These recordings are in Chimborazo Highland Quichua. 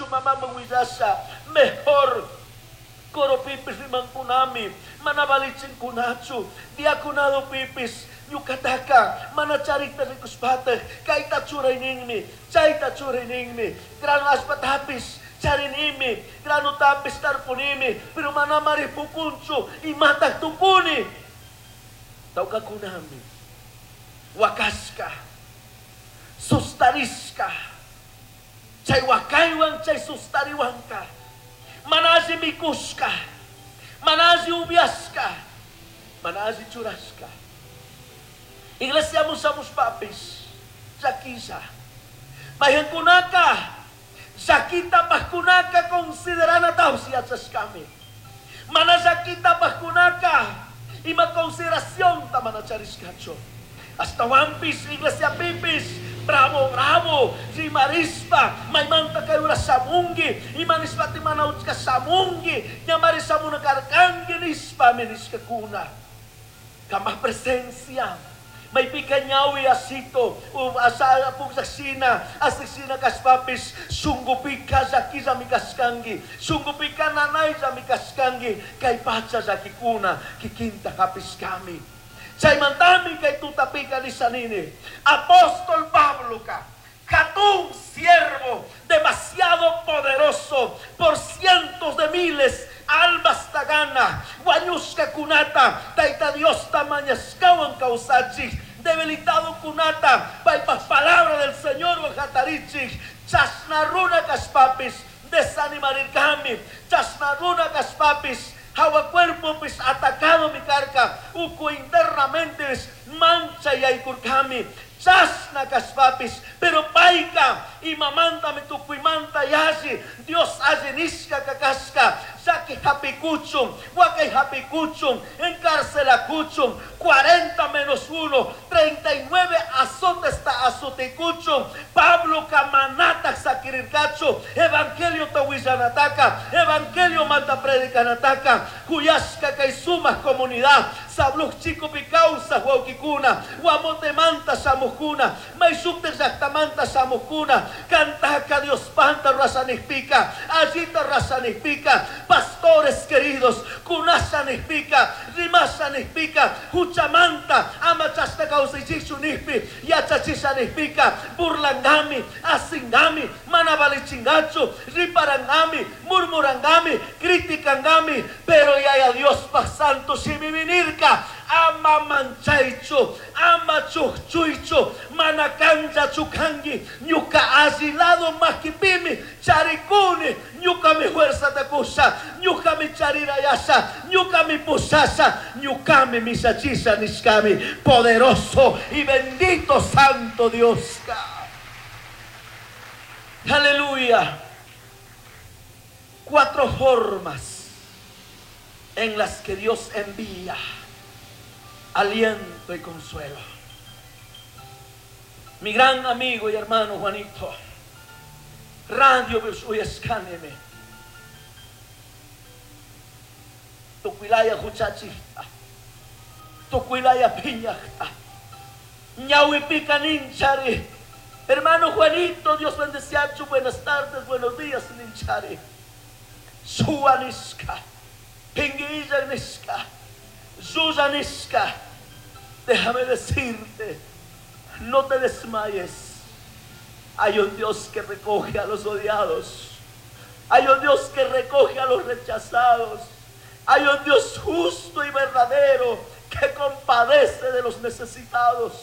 Manachu mamaman willasha? Mejor coropipis rimankunami, mana valichinkunachu, diaconadopipis ñuqataka mana charikta rikushpataq kayta churayninmi, chayta churayninmi, grano allpatapis charinimi, granotapis tarpunimi, pero manamari pukunchu, imataq tukuni. Tawkakunami wakashka, sustarishka, chay wakaywan chay sustariwanka, mana alli mikushka, mana alli upiashka, mana alli churashka. Iglesia shamushpapis llakilla. Mayqankunaka llakita apajkunaka consideranatapish yachashkami. Mana llakita apajkunaka ima consideracionta mana charishkachu. Ashtahuanpish iglesiapipis bravo bravo rimarishpa maymanta kay ura shamunki, ima nishpati mana uchka shamunki, ñamari shamuna karkanki nishpami nishkakuna. Cambaj presencia maypika ñawi asito asa pukllashina asishina kashpapish shungupika llakillami kashkanki, shungupika nanayllami kashkanki, kay pacha llakikuna kikinta hapishkami. Chaymantami kay tutapika nishanini, apóstol Pabloka jatun siervo demasiado poderoso por cientos de miles almas tagana, wañushkakunata, Tayta Diosta mañashkawan kawsachik, debilitado kunata, paypaj palabra del Señor hatarichik, chashna runa kashpapis, desanimarirkami, chashna runa kashpapis, hawa cuerpopis atacado mi karka, uku internamente mancha yaykurkami, chashna kashpapis, pero payka imamantami tukuymanta yalli, Dios alli nishka kakashka, llaki hapikuchun, wakay hapikuchun, encarcelakuchun, 40 menos 1, 39 azotes ta azotikuchun, Pabloka manataj sakirirkachu, evangelio ta willanataka, evangelio manta predicanataka, kuyashka kay sumak comunidad, Sabluj chikupi kawsaj wawkikuna, Guamotemanta shamujkuna, mayshuktaj llaktamanta shamujkuna, kantaka Diospanta rurashanijpika, allita rurashanijpika, pastores queridos, kunashanijpika, rimashanijpika, huchamanta ama chashna kawsaychikchu nijpi, yachachishanijpika, burlangami, asingami, mana valichingachu, riparangami, murmurangami, criticangami, pero Yaya Diospaj santo shimimi nirka, ama manchaychu, ama chukchuychu, mana kanllachu kanki, ñuka alli lado makipimi charikuni, ñukami fuerzata kusha, ñukami charirayasha, ñukami pushasha, ñukami mishachisha nishkami, poderoso y bendito santo Dioska. Aleluya. 4 formas en las que Dios envía aliento y consuelo. Mi gran amigo y hermano Juanito, Radio Uyescáneme, Tucuilaya huchachista, Tucuilaya piñajta, Ñahuipica ninchari. Hermano Juanito, Dios bendeciachu, buenas tardes, buenos días, ninchari. Suaniska, Pinguilla niska, Susaniska, déjame decirte, no te desmayes. Hay un Dios que recoge a los odiados. Hay un Dios que recoge a los rechazados. Hay un Dios justo y verdadero que compadece de los necesitados.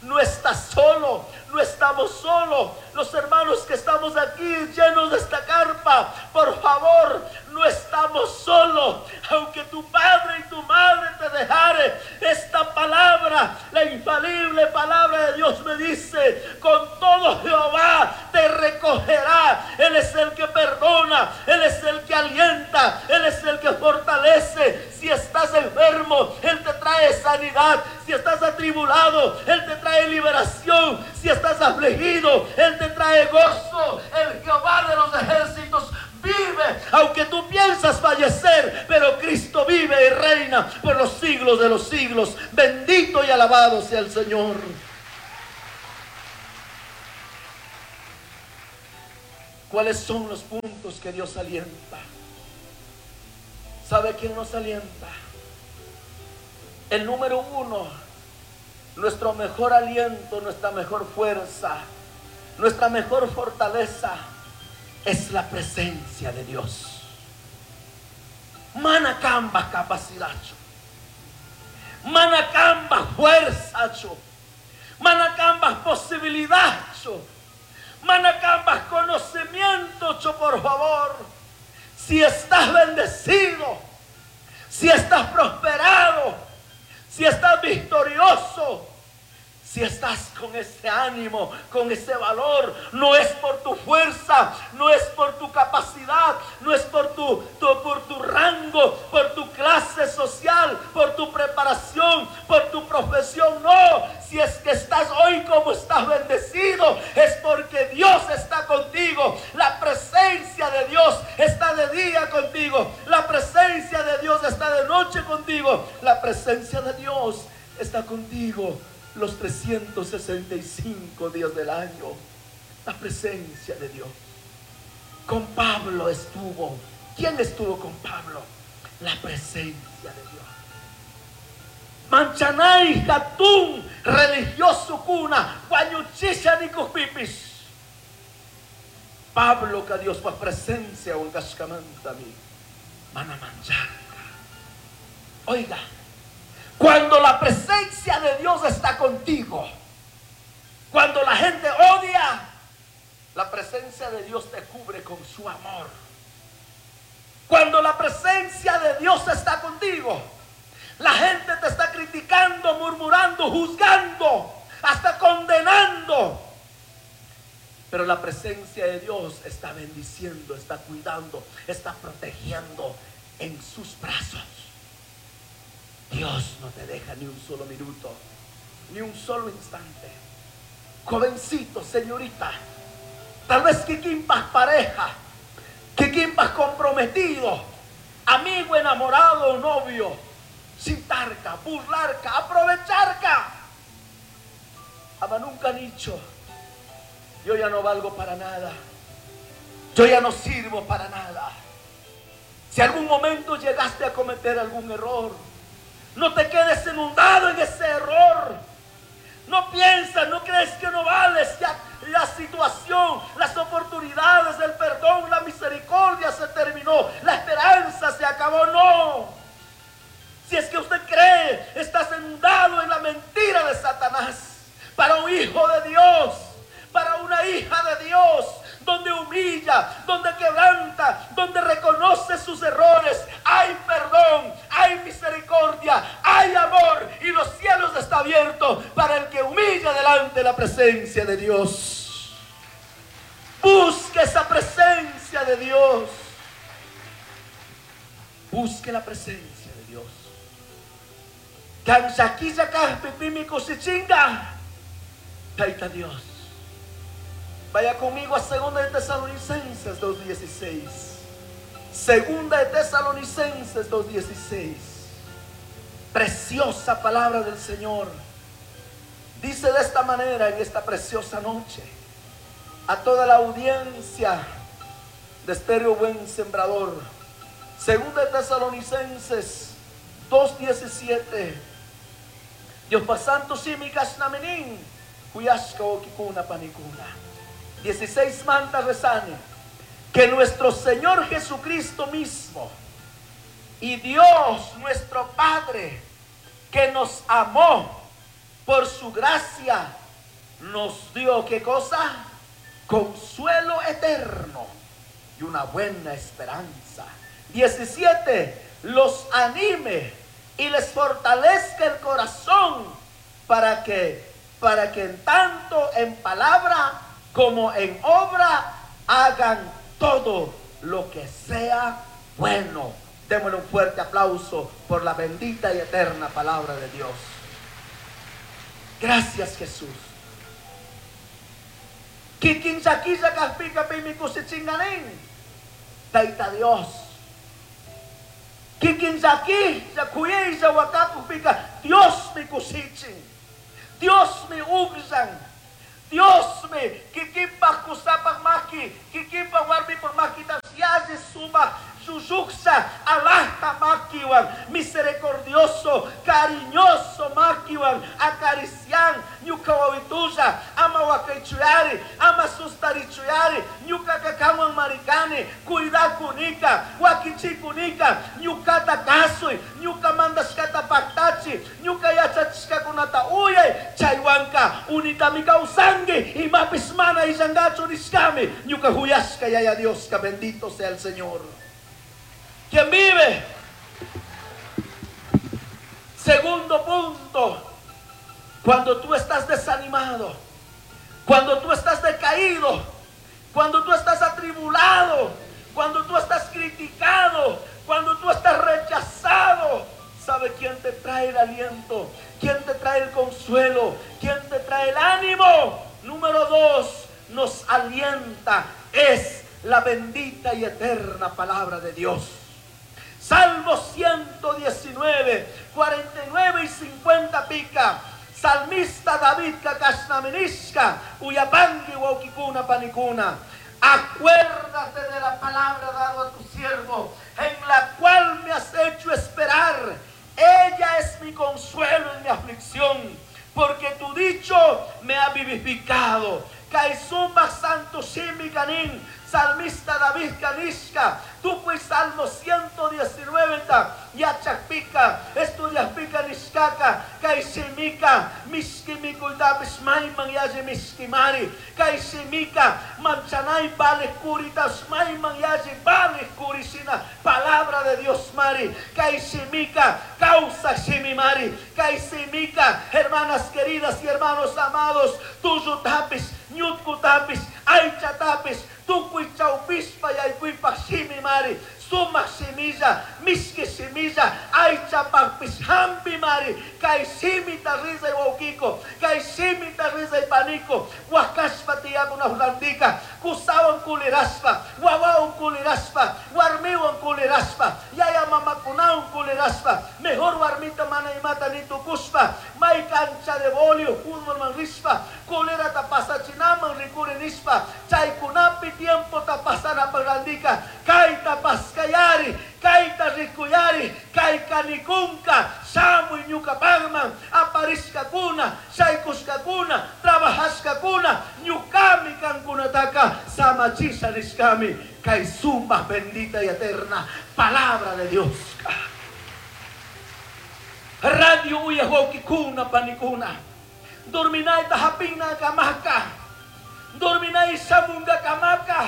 No estás solo, no estamos solos. Los hermanos que estamos aquí llenos de esta carpa, por favor, no estamos solos. Aunque tu padre y tu madre te dejare, esta palabra, la infalible palabra de Dios me dice, con todo Jehová te recogerá. Él es el que perdona, Él es el que alienta, Él es el que fortalece. Si estás enfermo, Él te trae sanidad. Si estás atribulado, Él te trae liberación. Si estás afligido, Él te trae gozo. El Jehová de los ejércitos vive, aunque tú piensas fallecer, pero Cristo vive y reina por los siglos de los siglos. Bendito y alabado sea el Señor. ¿Cuáles son los puntos que Dios alienta? ¿Sabe quién nos alienta? El número 1, nuestro mejor aliento, nuestra mejor fuerza, nuestra mejor fortaleza es la presencia de Dios. Manacamba capacidad, manacamba fuerza, manacamba posibilidad, manacamba conocimiento, por favor. Si estás bendecido, si estás prosperado, si estás victorioso, si estás con ese ánimo, con ese valor, no es por tu fuerza, no es por tu capacidad, no es por tu rango, por tu clase social, por tu preparación, por tu profesión, no. Si es que estás hoy como estás bendecido, es porque Dios está contigo. La presencia de Dios está de día contigo. La presencia de Dios está de noche contigo. La presencia de Dios está contigo los 365 días del año. La presencia de Dios. Con Pablo estuvo. ¿Quién estuvo con Pablo? La presencia de Dios. Manchanay hatun religioso cuna guañuchisha nikujpipis. Pablo que Dios va presencia huancashkamantami mana mancharka. Oiga, cuando la presencia de Dios está contigo, cuando la gente odia, la presencia de Dios te cubre con su amor. Cuando la presencia de Dios está contigo, la gente te está criticando, murmurando, juzgando, hasta condenando. Pero la presencia de Dios está bendiciendo, está cuidando, está protegiendo en sus brazos. Dios no te deja ni un solo minuto, ni un solo instante. Jovencito, señorita, tal vez que quimpas pareja, que quimpas comprometido, amigo enamorado o novio, citarca, burlarca, aprovecharca. Ama nunca han dicho, yo ya no valgo para nada, yo ya no sirvo para nada. Si algún momento llegaste a cometer algún error, no te quedes inundado en ese error. No piensas, no crees que no vales. Ya la situación, las oportunidades, el perdón, la misericordia se terminó. La esperanza se acabó. No. Si es que usted cree, estás inundado en la mentira de Satanás. Para un hijo de Dios, para una hija de Dios, donde humilla, donde quebranta, donde reconoce sus errores, hay perdón, hay misericordia, hay amor, y los cielos están abiertos para el que humilla delante de la presencia de Dios. Busque esa presencia de Dios. Busque la presencia de Dios. Taita Dios. Vaya conmigo a 2 de Tesalonicenses 2:16. 2 de Tesalonicenses 2:16. Preciosa palabra del Señor. Dice de esta manera en esta preciosa noche a toda la audiencia de Estéreo Buen Sembrador. 2 de Tesalonicenses 2:17. Dios pasando simikasnamenin, kuyashka okikuna panikuna. 16 mantas rezane, que nuestro Señor Jesucristo mismo y Dios nuestro Padre, que nos amó por su gracia, nos dio, ¿qué cosa? Consuelo eterno y una buena esperanza. 17, los anime y les fortalezca el corazón para que en tanto en palabra como en obra hagan todo lo que sea bueno. Démosle un fuerte aplauso por la bendita y eterna palabra de Dios. Gracias, Jesús. Taita Dios. Dios mi kusichin. Dios mi ugsan. Diosmi kikinpaj kusapaj maki, kikinpaj warmipaj makita yalli sumaj llullujsha alajta makiwan, misericordioso, cariñoso makiwan acarician ñuka wawitulla, ama wakaychuyari, ama sustarichuyari, ñukaka kanwan marikani, cuidakunika, wakichikunika, ñukata kasuy, ñuka mandashkata paktachi, ñuka yachachishkakunata uyay, chaywanka unitami kawsanki, imapis mana illankachu nishkami, ñuka huyashka Yaya Dioska, bendito sea el Señor. ¿Quién vive? Segundo punto, cuando tú estás desanimado, cuando tú estás decaído, cuando tú estás atribulado, cuando tú estás criticado, cuando tú estás rechazado, ¿sabe quién te trae el aliento? ¿Quién te trae el consuelo? ¿Quién te trae el ánimo? Número 2, nos alienta, es la bendita y eterna palabra de Dios. Salmo 119, 49 y 50 pica. Salmista David kakashnamenishka, uyapangi waukikuna panikuna. Acuérdate de la palabra dada a tu siervo, en la cual me has hecho esperar. Ella es mi consuelo en mi aflicción, porque tu dicho me ha vivificado. Kaisumba santo shimi kanin, salmista David Kanishka, tukuy Salmo 119 ta, yachakpika, estudiaspika nishkaka, kayshimika, mishki mikuytapis mayman yalli mishkimari, kayshimika, manchanay vale kuritas mayman yalli vale kurishina, palabra de Dios mari, kayshimika, causa shimimari, kayshimika, hermanas queridas y hermanos amados, tuyo tapis, ñutku tapis, aycha tapis, tukuy chawpishpa yaykuypaj shimi mari, sumak shimilla, mishki shimilla, aychapajpis hampi mari, kay shimita rizay wawkiko, kay shimita rizay paniko, wakashpa tiyakunaj randika, kusawan kulirashpa, wawawan kulirashpa, warmiwan kulirashpa, yaya mamakunawan kulirashpa, mejor warmita mana imata nitukushpa, may cancha de bolio, fútbol man rishpa, kulerata pasachinaman rikuri nishpa, chaykunapi tiempo ta pasanapaj randika, kayta paskayari, kayta rikuyari, kay kanikunka, shamuy ñukapajman, aparishkakuna, shaykushkakuna, trabajashkakuna, ñukami kankunataka samachisha nishkami, kay sumak bendita y eterna palabra de Dios. Radio uyaj wawkikuna panikuna, dorminayta hapina kamaka, dorminay shamunga kamaka,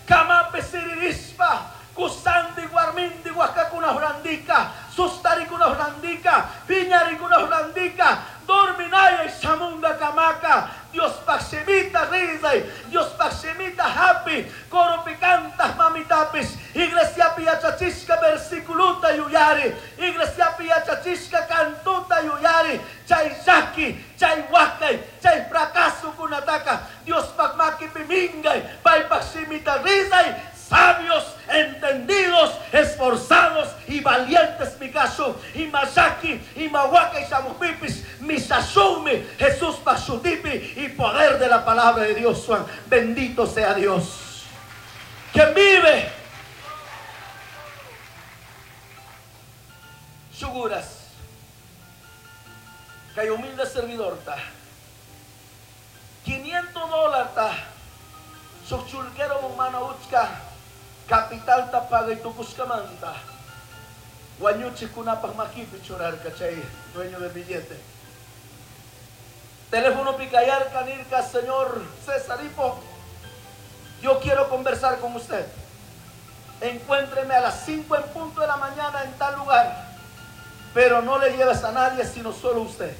kamape siririshpa, kusandi warmindi wakakuna randika, sustarikuna randika, piñarikuna randika, dorminaya shamunga kamaka, Dios shimita rizay, Dios shimita happy, koropi cantas mamitapis, iglesia piyachachishka versículuta yuyari, iglesia piyachachishka cantuta yuyari, chay llaki, chay wakay, chay fracaso kunataka, Dios maki pimingay, paypak shimita rizay, sabios, entendidos, esforzados y valientes mi caso, y masaki, y mawaka y samupipis, misashumi, Jesús pashutipi y poder de la palabra de Dios, Juan. Bendito sea Dios. Quien vive. Suguras, que hay humilde servidor ta. Quinientos dólares ta. Sochulquero humano uchka. Capital tapaga y tucuscamanta. Guañuchi kunapaj makipi churarca, chay, dueño del billete. Teléfono picayar, canirca, señor César Hipo. Yo quiero conversar con usted. Encuéntreme a las 5 en punto de la mañana en tal lugar. Pero no le lleves a nadie, sino solo usted.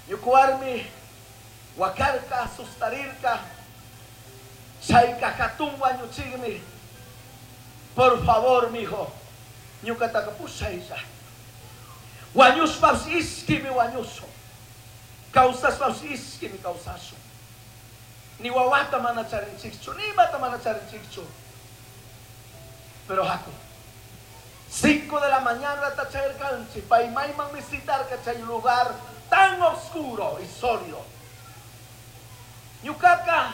Yukuarmi, Huacarca, Sustarirca, Chaykakatun wañuchigmi. Por favor, mijo, ñuqataka pushaylla. Wañushpash ishkimi wañushun. Kawsashpash ishkimi kawsashun. Ni wawata mana charinchikchu, ni imata mana charinchikchu. Pero haku. 5 de la mañana tachayarkanchik, paymayman visitarka chay lugar tan oscuro y sólido. Ñucaca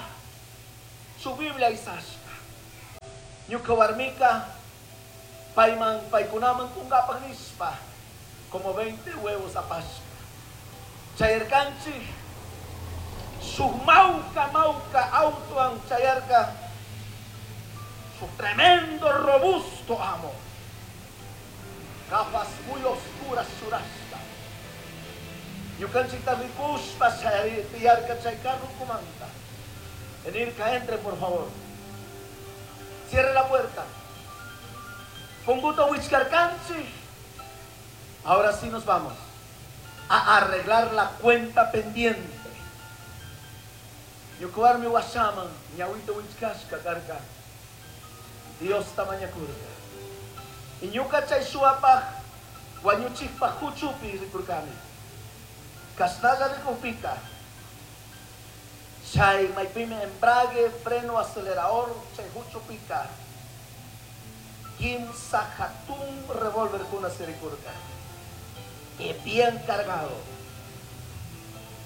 su Biblia isashka. Ñuka warmika payman paykunaman kungapak nishpa como 20 huevos apashka. Chayarkanchik shuk mawka mawka autowan chayarka shuk tremendo robusto amo. Gafas muy oscuras churashka. Ñukanchikta rikushpa tiyarka chay carrukumanta. Nirka, entre por favor. Cierre la puerta. Punguta wichkarkanchik. Ahora sí nos vamos a arreglar la cuenta pendiente. Ñuka warmi washaman ñawita wichkashka karka. Diosta mañakurka. Y ñuka chay shuwapaj wañuchikpaj huchupi rikurkani. Kashnalla rikukpika chay maypimi embrague, freno, acelerador, chay huchupika kimsa hatun revólverkuna sirikurka. Y bien cargado.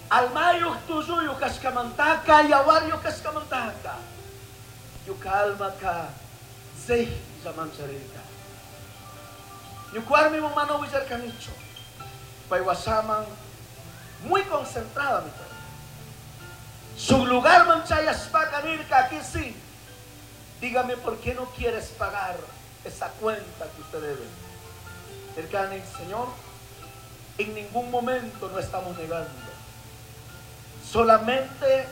Almayuq tulluyuq kashkamantaka, yawaryuq kashkamantaka. Ñuka almaka zeylla mancharirka. Ñuka warmiman mana willarkanichu. Pay washaman muy concentrada mi karka. Su lugarman chayashpaka nirka, aquí sí. Dígame por qué no quieres pagar esa cuenta que usted debe. Nirkani, Señor, en ningún momento no estamos negando. Solamente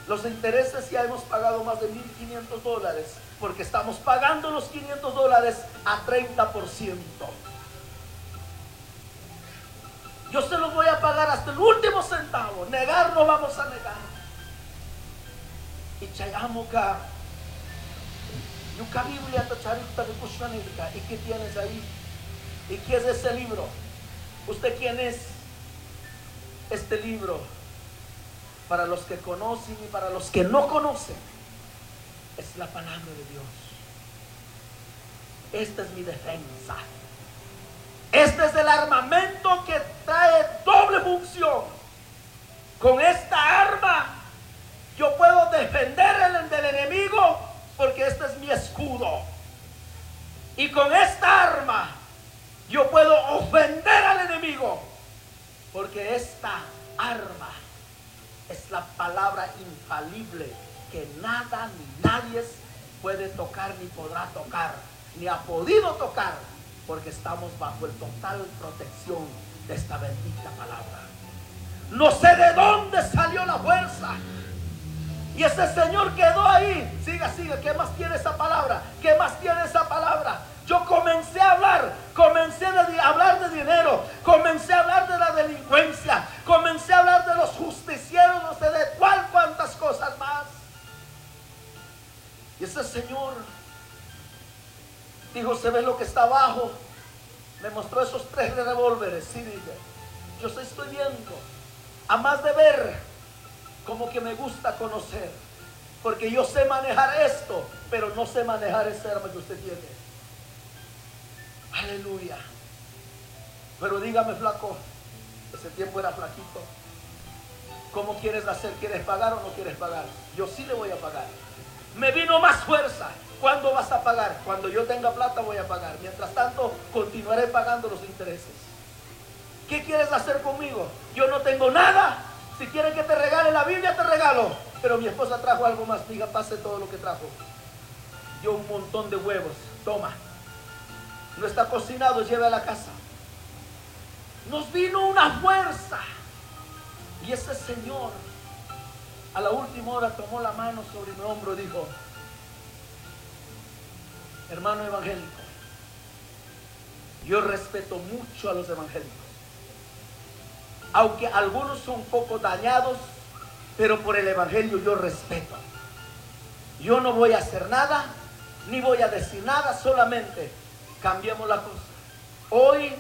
los intereses ya hemos pagado más de $1,500 porque estamos pagando los $500 a 30%. Yo se los voy a pagar hasta el último centavo. Negar no vamos a negar. Y chayamoka, ñuka Biblia tacharita rikushkanirka. ¿Y qué tienes ahí? ¿Y qué es ese libro? ¿Usted quién es? Este libro, para los que conocen y para los que no conocen, es la palabra de Dios. Esta es mi defensa. Este es el armamento que trae doble función. Con esta arma yo puedo defender del enemigo, porque este es mi escudo. Y con esta arma yo puedo ofender al enemigo, porque esta arma es la palabra infalible que nada ni nadie puede tocar, ni podrá tocar, ni ha podido tocar, porque estamos bajo el total protección de esta bendita palabra. No sé de dónde salió la fuerza. Y ese señor quedó ahí. Siga, siga, ¿qué más tiene esa palabra? ¿Qué más tiene esa palabra? Yo comencé a hablar, comencé a hablar de dinero, comencé a hablar de la delincuencia, comencé a hablar de los justicieros, no sé de cuál, cuántas cosas más. Y ese señor dijo, se ve lo que está abajo. Me mostró esos 3 revólveres. Sí, dije, yo se estoy viendo. A más de ver, como que me gusta conocer, porque yo sé manejar esto, pero no sé manejar ese arma que usted tiene. Aleluya. Pero dígame, flaco, ese tiempo era flaquito, ¿cómo quieres hacer? ¿Quieres pagar o no quieres pagar? Yo sí le voy a pagar. Me vino más fuerza. ¿Cuándo vas a pagar? Cuando yo tenga plata voy a pagar. Mientras tanto, continuaré pagando los intereses. ¿Qué quieres hacer conmigo? Yo no tengo nada. Si quieren que te regale la Biblia, te regalo. Pero mi esposa trajo algo más. Diga, pase todo lo que trajo. Dio un montón de huevos. Toma. No está cocinado, lleve a la casa. Nos vino una fuerza. Y ese señor a la última hora tomó la mano sobre mi hombro y dijo, hermano evangélico, yo respeto mucho a los evangélicos. Aunque algunos son un poco dañados, pero por el evangelio yo respeto. Yo no voy a hacer nada, ni voy a decir nada, solamente cambiemos la cosa. Hoy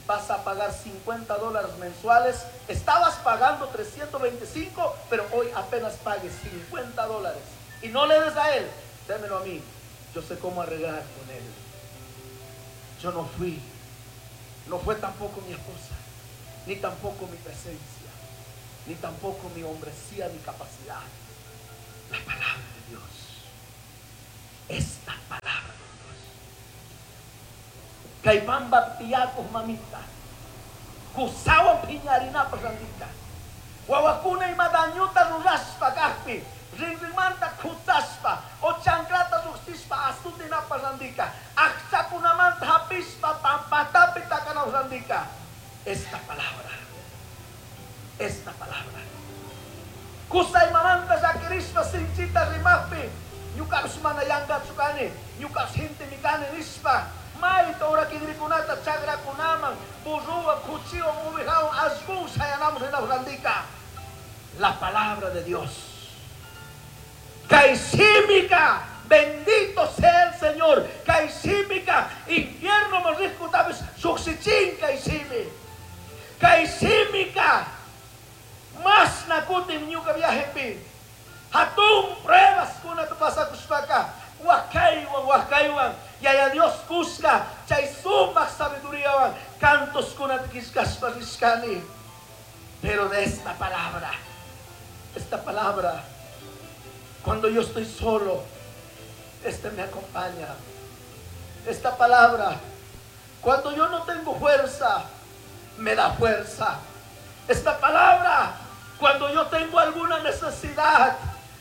vas a pagar $50 mensuales. Estabas pagando 325, pero hoy apenas pagues $50. Y no le des a él, démelo a mí. Yo sé cómo arreglar con él. Yo no fui, no fue tampoco mi esposa, ni tampoco mi presencia, ni tampoco mi hombresía, ni capacidad. La palabra de Dios. Esta palabra de Dios. Kay pambapi tiyakuj mamita. Kusawan phiñarinapaj randika. Wawakuna ima dañuta rurashpa kajpi, rinrinmanta khutsashpa, o chanclata llujshishpa azutinapaj randika, ajchakunamanta hapishpa pampatapi takanapaj randika. Esta palabra, esta palabra. Kusa imamanta llakirishpa sinchita rimajpi, ñukapish mana yankachu kani, ñukapish gentemi kani nishpa, mayta urakigrikunata chakrakunaman, burruwan, kuchiwan, ovejawan, allquwan shayanamun rinapaj randika. La palabra de Dios. Kay simika, bendito sea el Señor. Kay simika, infierno rijkutapish llujshichin kay simi. Kay simika, mashna kutin ñuka viajepi. Hatun pruebas kunata pasakushpaka, wakaywan, wakaywan, Yaya Dios kushka, chay sumak sabiduriawan, cantos kunata killkashpa rishkani. Pero de esta palabra, cuando yo estoy solo, este me acompaña. Esta palabra, cuando yo no tengo fuerza, me da fuerza. Esta palabra, cuando yo tengo alguna necesidad,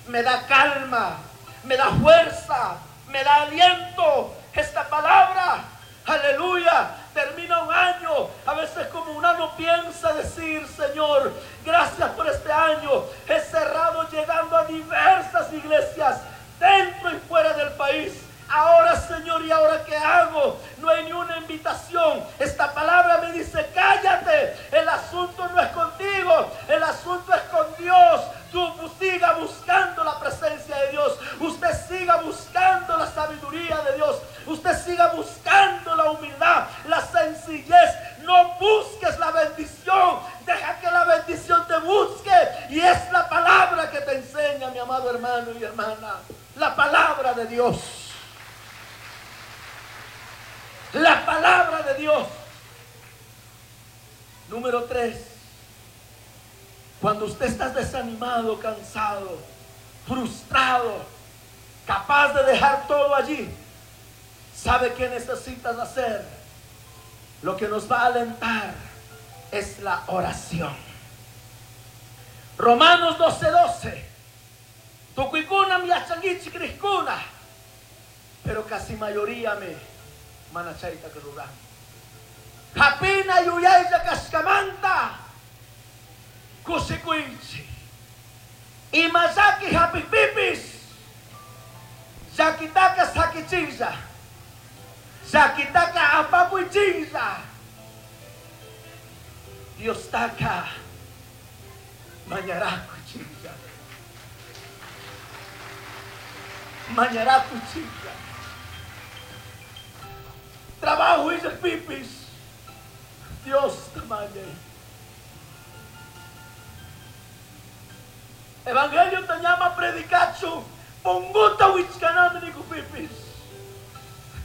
me da calma, me da fuerza, me da aliento. Esta palabra, aleluya, termina un año. A veces como uno no piensa decir, Señor, gracias por este año. He cerrado llegando a diversas iglesias, dentro y fuera del país. Ahora, Señor, ¿y ahora qué hago? No hay ni una invitación. Esta palabra me dice, cállate. El asunto no es contigo, el asunto es con Dios. Tú siga buscando la presencia de Dios. Usted siga buscando la sabiduría de Dios. Usted siga buscando la humildad, la sencillez. No busques la bendición. Deja que la bendición te busque. Y es la palabra que te enseña, mi amado hermano y hermana. La palabra de Dios. La palabra de Dios. Número 3. Cuando usted está desanimado, cansado, frustrado, capaz de dejar todo allí, ¿sabe qué necesitas hacer? Lo que nos va a alentar es la oración. Romanos 12:12. Tukuykuna yachankichik rijkuna, pero casi mayoría me mana chayta ruran. Hapina yuyaylla kashkamanta kushikuychik. Ima llaki hapikpipis llakitaka sakichiklla, llakitaka apakuychiklla. Diostaka mañarakuychiklla, mañarakuychiklla. Trabajo y pipis, Dios te mañe. Evangelio te llama predicacho, ponguta wichkanami ni pipis.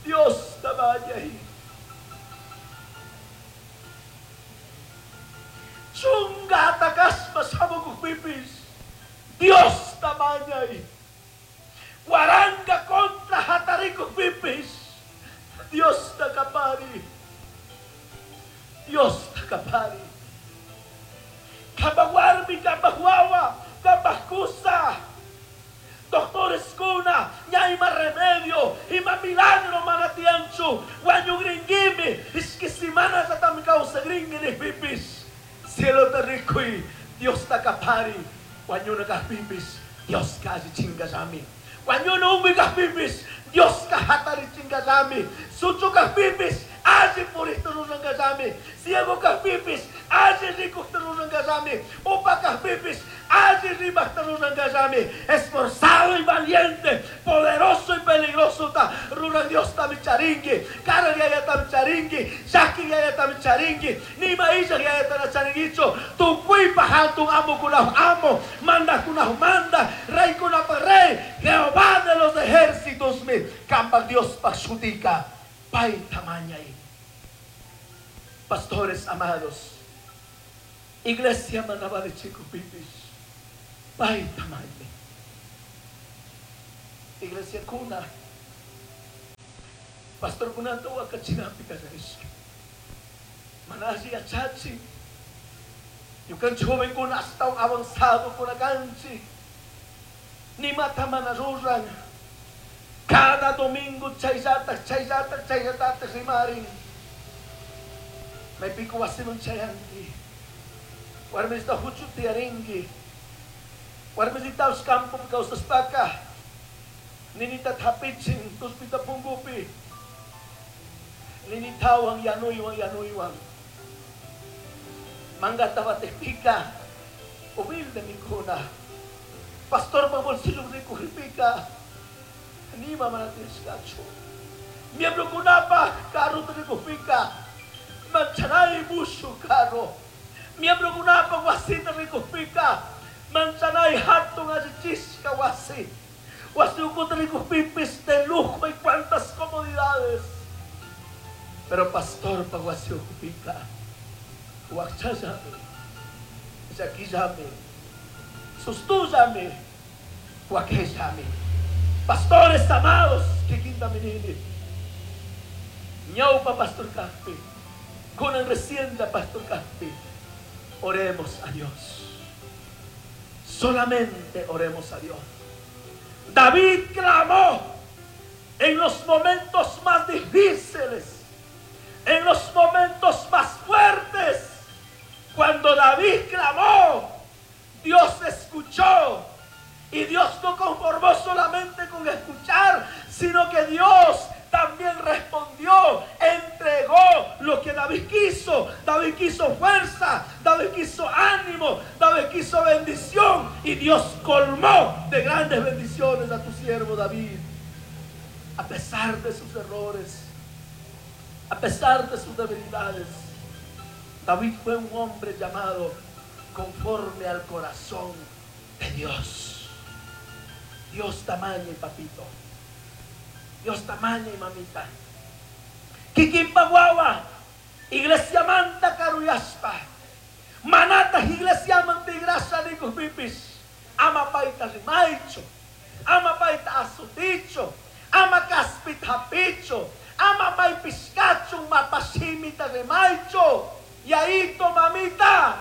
Dios te mañe. Chunga atakaspa samuku pipis, Dios te mañe. Guaranga contra hatariku pipis. Dios te capari. Dios te capari. Kabawarmi, kabahuawa, kabakusa. Doctores kuna, ñaima remedio, ima milagro manatianchu, guaño gringuimi, es que si manas atam causa gringuini pipis. Cielo te rico y Dios te capari. Guaño na pipis, Dios casi chingayami. Guaño no umigas pipis, Dios kahatari chingayami. Sucho pipis, alli purista rurangayami. Ciego pipis, alli rico rurangayami. Upa pipis, alli rimasta rurangayami. Esforzado y valiente, poderoso y peligroso ta ruran Dios tamicharingui. Cara yaya tamicharingui, yaki yaya tamicharingui, nima illa yaya tanacharinguicho. Tu cuipa hatun amo kunah amo, manda kunah manda, rey kunah rey, Jehová de los ejércitos mi, kamba Dios pashutica. Pai tamañay. Pastores amados, iglesia manaba de chico pipis, pai tamañay. Iglesia kuna pastor kunata wakachinapi kallarishka. Mana alli yachachin. Ñukanchik jovenkuna ashtawan avanzado kuna kanchik. Nimata mana ruran. Cada domingo chayllataj chayllataj chayllatataj rimarin. Maypiku wasiman chayanki. Warmisita huchu tiyarinki. Warmisitapas campopi kawsashpaka ninita hapichin tuspita punkupi. Ninitawan yanuywan yanuywan. Mangata batejpika humilde mikuna. Pastorpa bolsillo rikujpika nima mana tiyashkachu. Miembrokunapaj carrota rikujpika manchanay mushuj carro. Miembrokunapaj wasita rikujpika manchanay hatun allichishka wasi. Wasi ukuta rikujpipis de lujo y cuantas comodidades. Pero pastorpa wasi ukupika wakchallami, llakillami, sustullami, wakellami. Pastores amados, kikinta minini. Ñaupa pastor kajpi, kunan recién pastor kajpi. Oremos a Dios. Solamente oremos a Dios. David clamó en los momentos más difíciles, en los momentos más fuertes. Cuando David clamó, Dios escuchó. Y Dios no conformó solamente con escuchar, sino que Dios también respondió, entregó lo que David quiso. David quiso fuerza, David quiso ánimo, David quiso bendición. Y Dios colmó de grandes bendiciones a tu siervo David. A pesar de sus errores, a pesar de sus debilidades, David fue un hombre llamado conforme al corazón de Dios. Dios tamaño y papito. Dios tamaño y mamita. Kikinpa wawa, iglesia manta karuyaspa. Manata iglesia mantigrasa nikujpipis. Ama paita rimaicho. Ama paita asuticho. Ama kaspita hapicho. Ama maipiskacho mapashimita rimaicho. Y ahí to mamita,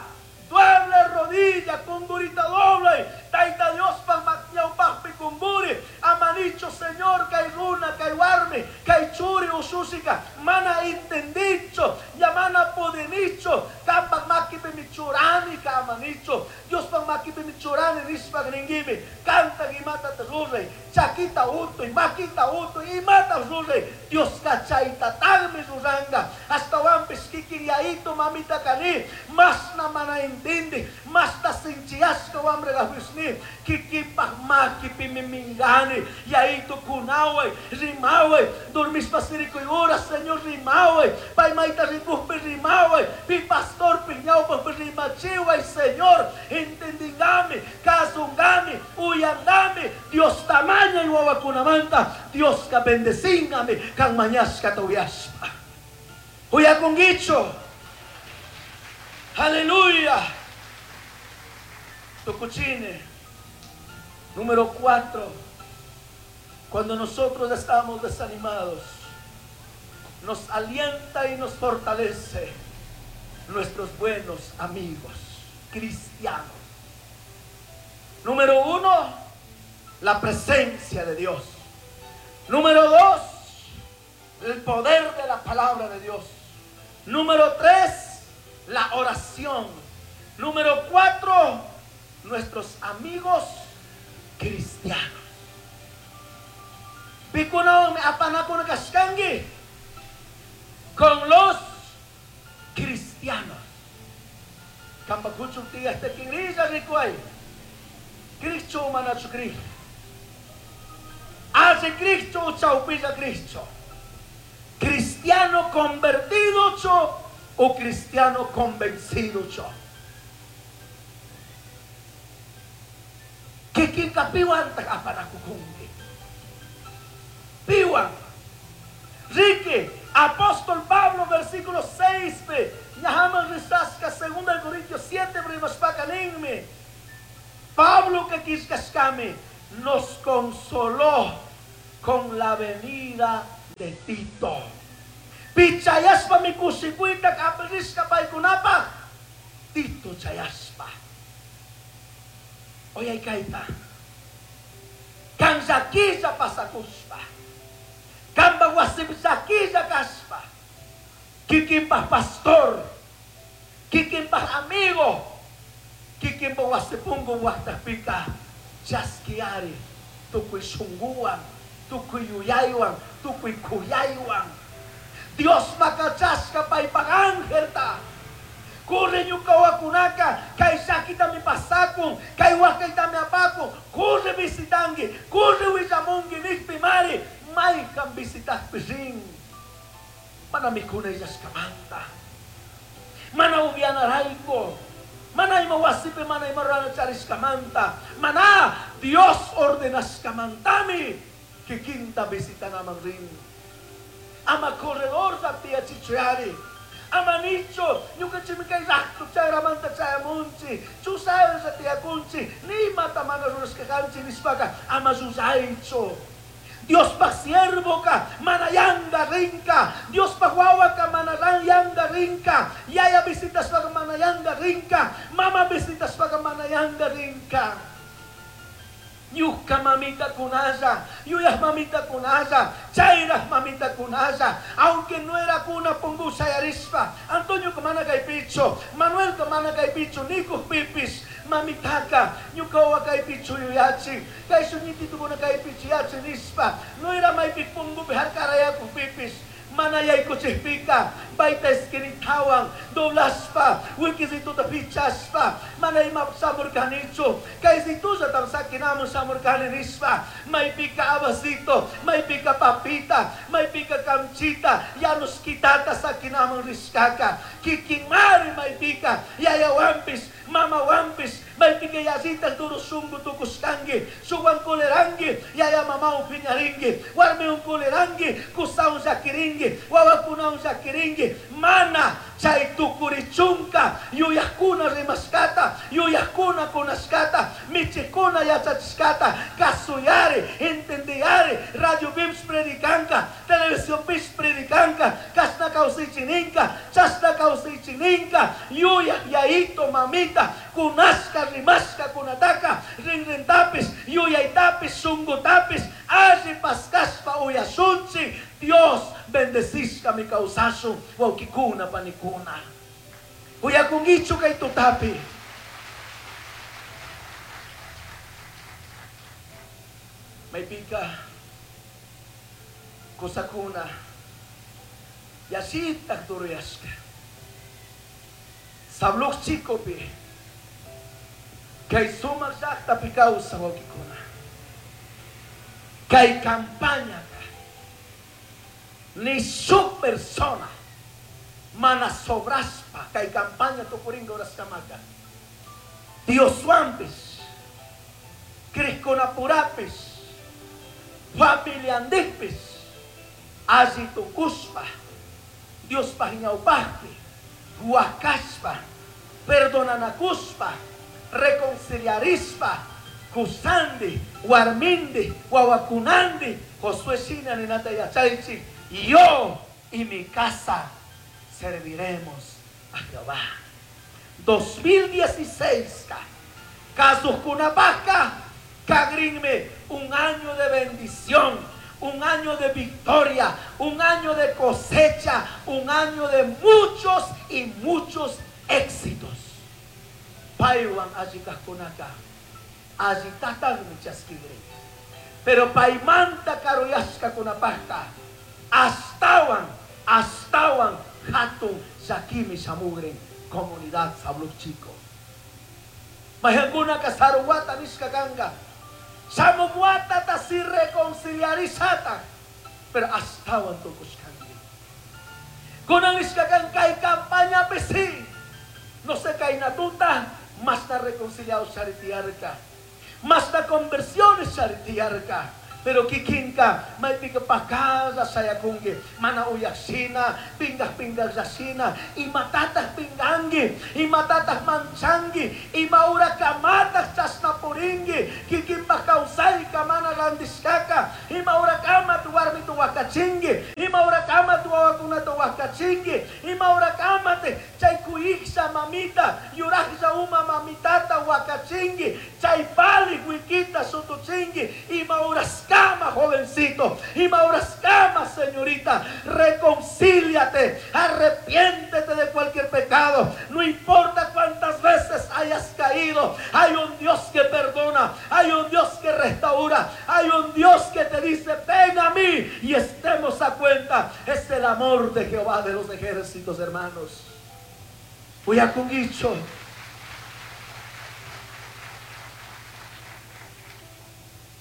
doble rodilla, kungurita doble. Taita Dios pa ñawpajpi kumburi. Amanicho Señor, kay runa, kay warmi, kay churi ushusika. Mana entendicho, ya mana pudinicho. Kampak makipi michurani ka amanicho. Dios pa makipi michurani nishpak ningimi. Kanta imata ruray, chakita utuy, makita utuy, imata ruray. Dios kachaita tagmi ruranga. Hasta wampis kikin yaito mamita kani. Mas na mana intindi, mas ta sinchiasca wambre gahuisni. Kikipaj makipi mimingani. Yaito kunaway, rimaway. Dormispa sirikuyura, Señor rimaway. Paymaita rikujpi rimaway. Pi pastor piñawpa rimachiway, Señor. Entendingami, kasungami, uyangami. Dios tamaña y wawakunamanta. Dios ka bendecingami, kan mañasca tuyaspa. Uyakungicho. Aleluya. Tucuchine. Número 4. Cuando nosotros estamos desanimados, nos alienta y nos fortalece nuestros buenos amigos cristianos. Número 1, la presencia de Dios. Número 2, el poder de la palabra de Dios. Número 3, la oración. Número 4, nuestros amigos cristianos. Pikunawan apanakuna kashkanki con los cristianos. Kampa kuchun tiya este kingrilla rikuay. Cristo manachu Cristo. Hace Cristo chaupilla Cristo. Cristiano convertido cho o cristiano convencido cho. Kikinka piwan apanakukunki. Piwan. Rique, apóstol Pablo, versículo 6, Ñahaman risasca, 2 Corintios 7, primaspacaninme. Pablo que quiscascame nos consoló con la venida de Tito. Pichayaspa mi kushikuyta kapirishka paykunapaj Tito chayaspa. Oyaykayta. Kan llakilla pasakushpa. Kanpa wasipi llakilla kashpa. Kikinpaj pastor. Kikinpaj amigo. Kikinpaj wasi punku waqtapika chaskiyari tukuy shunkuwan, tukuy yuyaywan, tukuy kuyaywan. Dios makachashka paypaj angelta. Corre ñuka wawakunaka, kay llakitami pasakun, kay wakaytami apakun, corre visitanki, corre willamunki nijpi mari, maykan visitajpi rin. Mana mikuna illashkamanta, mana upianarayku, mana ima wasipi, mana ima rurana charishkamanta, mana Dios ordenashkamantami kikinta visitanaman rin. Ama corredor tiyachichuyari. Ama nichu, ñukanchikmi kay raqtu chayramanta chayamunchik, chusaylla tiyakunchik, nimata mana rurashka kanchik nishpaka ama llullaychu. Diospaj siervoka mana yanga rinka, Diospaj wawaka mana yanga rinka, yaya visitashpaka mana yanga rinka, mama visitashpaka mana yanga rinka. Ñuka mamita kunalla, yuyaj mamita kunalla, chayraj mamita kunalla, aunque no era kuna pungu shayarishpa, Antonio mana kaypichu, Manuel mana kaypichu, nikujpipis, mamitaka, ñuka wawa kaypichu yuyachin, kay shuñititukuna kaypichu yachin nishpa, no era maypi pungupi harkarayakujpipis, mana yaykuchikpika, payta esquinitawan, doblashpa, wikisituta pichashpa, mana ima shamurkanichu, kaysitullatam sakinamun shamurkani nishpa, maypika abasito, maypika papita, maypika kamchita, yanushkitata sakinamun rishkaka, kikinmari maypika, yayawanpish, mamawanpish, maypika yallitaj duro shunku tukushkanki, shukwan kuliranki, yaya mamawan piñarinki, warmiwan kuliranki, kusawan llakirinki, wawakunawan llakirinki, mana chay tukurichunka yuyajkuna rimashkata, yuyajkuna kunashkata, michikuna yachachishkata, kasuyari, entendiyari, radio pipish predicanka, televisión pish predicanka, kashna kawsaychininka, chashna kawsaychininka, yuyaj yayito mamita, kunashka rimashka kunataka, rinrintapis, yuyaytapis, shungutapis, alli paskashpa uyashunchik, Dios bendecishka mi kawsashun, wawkikuna panikuna. Uyakunkichu kay tutapi. Maypika kusakuna yasitaq duruyashka. Sabluq chikupi kay sumaq llaqtapi kawsaq wawkikuna. Kay campañaka ni shuk persona mana sobrashpa kay campaña tukurinka horaskamaka. Dioswanpis, crikkunapurapis, familiandikpis, alli tukushpa, Diospaj ñawpajpi, wakashpa, perdonanakushpa, reconciliarishpa, kusandi, warmindi, wawakunandi, Josué shina ninata yachaychik, yo y mi casa serviremos a Jehová. 2016, kasuqkunapajka, kagrinmi, un año de bendición, un año de victoria, un año de cosecha, un año de muchos y muchos éxitos. Paywan alli kajkunaka, allitataqmi chaskigrin. Pero paymanta karuyashkakunapajka, astawan, astawan hatun llakimi shamugrin comunidad Sabluc Chico. Mayqankunaka sarun wata nishka kanka, shamuk watata si reconciliarishataq, pero astawan tukushkanki. Kunan nishka kan kay campañapi si, no sé kayna tuta, mashna reconciliado charitiyarka, mashna conversiones charitiyarka. Pero kikinka maypika pakalla shayakunki, mana uyashina, pingaj pingajllashina, imatataq pinganki, imatataq manchanki, ima urakamataq chashna purinki, kikinpak kawsayka mana randishkaka, ima urakamat warmita wakachinki, ima urakamat wawakunata wakachinki, ima urakamat chay kuyiklla mamita, yurajlla uma mamitata wakachinki, chay pali wikita sutuchinki, ima uraskama jovencito, ima uraskama señorita, reconcíliate, arrepiéntete de cualquier pecado, no importa cuántas veces hayas caído, hay un Dios que perdona, hay un Dios que restaura, hay un Dios que te dice, ven a mí y estemos a cuenta. Es el amor de Jehová de los ejércitos, hermanos. Uyakunguicho.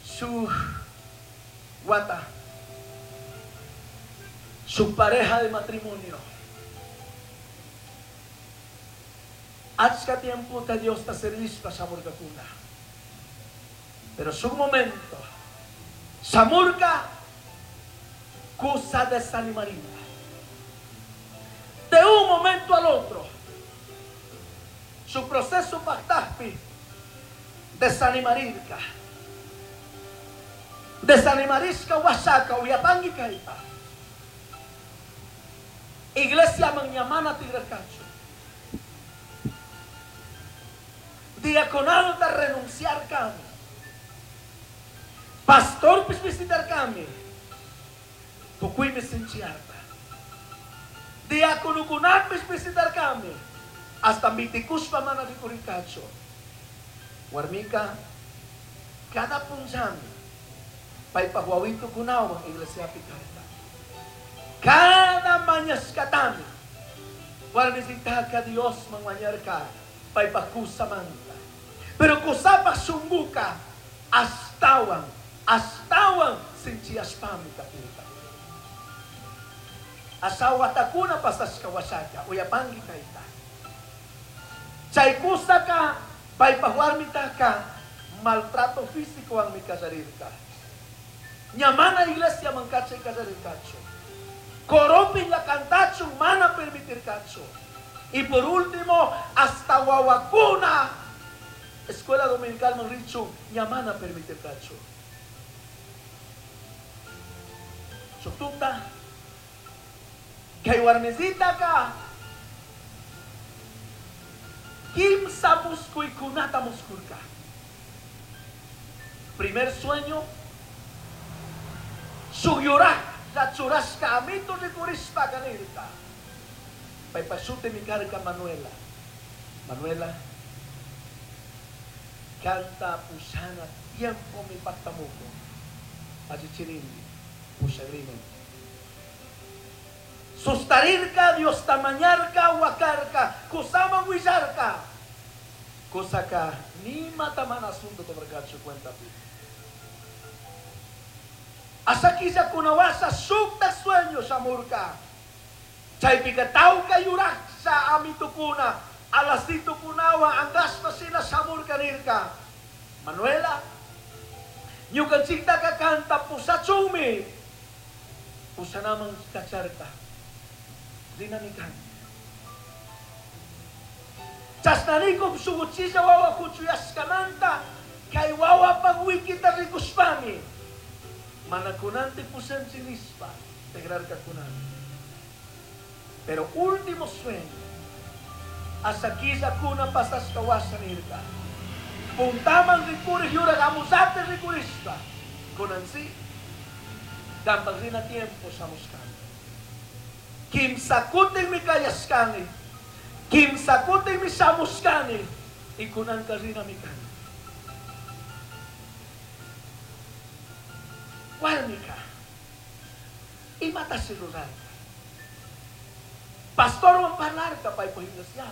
Su guata, su pareja de matrimonio. Achka tiempo te Dios te servista samurkakuna. Pero su momento, samurka kusa desanimarina. De un momento al otro, su proceso pactaspi desanimarirka. Desanimarisca wasaka uyapangi kaipa. Iglesia mañamana tigrarcacho. Diaconado de renunciar kami. Pastor pis visitar kami. Tukui me sinchiarta. Diácono kunapis visitar kami. Hasta mitikuspa mana rikuricacho. Warmika, cada punzami. Paypaj wawito kunawan iglesia picarta. Cada mañascatami. Warmisitaka Dios manmañarka. Paypaj kusamanta. Pero kusapa sunguka. Astawan. Astawan sinchiaspami kapirka. Asawatakuna pasashka wasaka. Uyapangi kaita. Chay kusaka. Paypaj warmitaka. Maltrato físico ang mi kasarirka. Ñamana iglesia mancacha y casarircacho. Corompi la cantacho, mana permitir cacho. Y por último, hasta Guaguacuna, escuela dominical Manricho, ñamana permitir cacho. Sotuta, que warmecita acá, kimsa muscu y kunata muscurca. Primer sueño, su llorar, la churasca, amito ricurispa canirta. Paipasute mi carca Manuela. Manuela, canta pusana tiempo mi pactamuco. Achichirini, pusagrino. Sustarirca, Dios tamañarca, huacarca, kusama huillarca. Cosa ni matamana asunto tomarcacho cuenta pi. Asakisa kunawasa sukta sueño samurka. Chaypika tauka yuraksa amitukuna. Alasito kunawa angaspa sina samurka nirka. Manuela, ñukanchiktaka kanta pusachumi. Pusanaman kacharka. Dinamikan. Chasnanikum suguchilla wawa kuchuyaskamanta. Kay wawa pagwikita rikuspami. Manakunante pusanchi nispa, tegrarka kunami. Pero último sueño, hasta aquí kuna pasas kawasa nirka. Puntaman rikuri yura gamusate rikurispa. Kunansi, dambagrina tiempo samuskani. Kimsakutin mi kayaskani, kimsakutin mi samuskani, y kunan karina mi kani. Warmika, imata si rurarka. Pastor wan parlarka paypaj iglesia.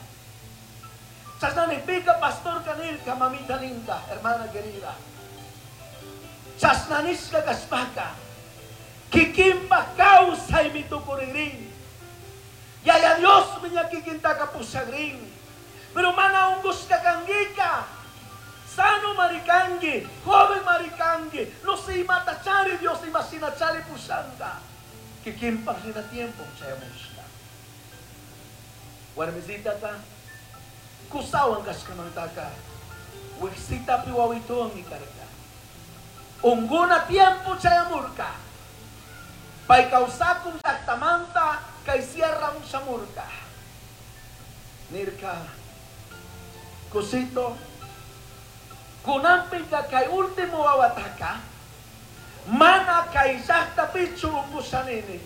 Chasnanipika pastor kanirka, mamita linda, hermana querida. Chasnanishka kashpaka, kikimpa kawsay mitukuririn. Yaya Dios miña kikintaka pusagrin. Pero mana unguska kangika. Sano marikangi, joven marikangi, no se imatachari Kikinpaj rina tiempo chayamushka. Warmisitaka kusawan kashkamantaka wiksitapi wawituwanmi karka. Unguna tiempo chayamurka. Pay kawsakun llaktamanta kay sierramun shamurka. Nirka, kusito, kunanpika kay último wawataka mana kay llaktapichu ungushanini,